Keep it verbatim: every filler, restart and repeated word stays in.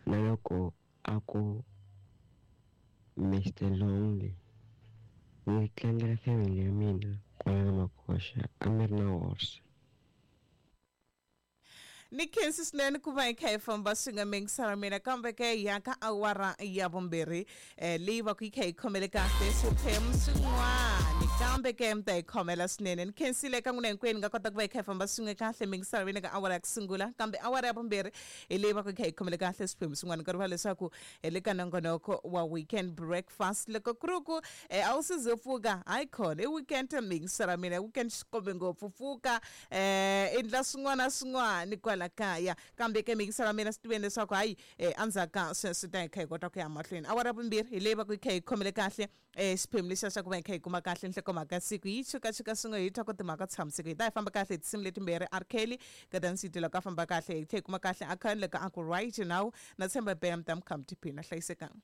Na loko a ku Mister Lonely. Ni tlangela family ya mina kwala ka Makoxa a mi ri na horse. Ni khensi swinene ku va hi kha hi famba swi nga mingisana mina, kambe ke hi ya ka awara ya vumbirhi eh, leyi va ku yi kha yi khomele kahle swiphemu swin'wana, kambe ke mi ta hi khomela swinene. Ni khensile ka n'wina hinkwenu nga kota ku va hi kha hi famba swin'we kahle mingisana mina ka awara ya ku sungula, kambe awara ya vumbirhi hi leyi va ku yi kha yi khomele kahle swiphemu swin'wana. Nkarhi va leswaku hi le ka nongonoko wa weekend breakfast, loko ku ri ku eh, a wu si ze pfuka, hayi khona i weekend mingisana mina, weekend xikombe ngopfu, pfuka eh endla swin'wana na swin'wana kwala kaya. Kambe ke mingisana mina swi tiveni leswaku hayi eh, endzhaku ka sweswi ta hi kha hi kota ku ya mahlweni. Awara ya vumbirhi hi leyi va ku yi kha yi khomele kahle eh, xiphemu lexiya xa ku va hi kha hi kuma kahle nhlokomhaka siku, yi chukachuka swin'we hi twa ku timhaka tshamiseko. Hi ta hi famba kahle hi tinsimu letimbirhi, R Kelly Kadani Siti loko a famba kahle hi tlhe hi kuma kahle akhani loko a ku right now. Na tshemba bam tam kham tiphina hlayisekanga.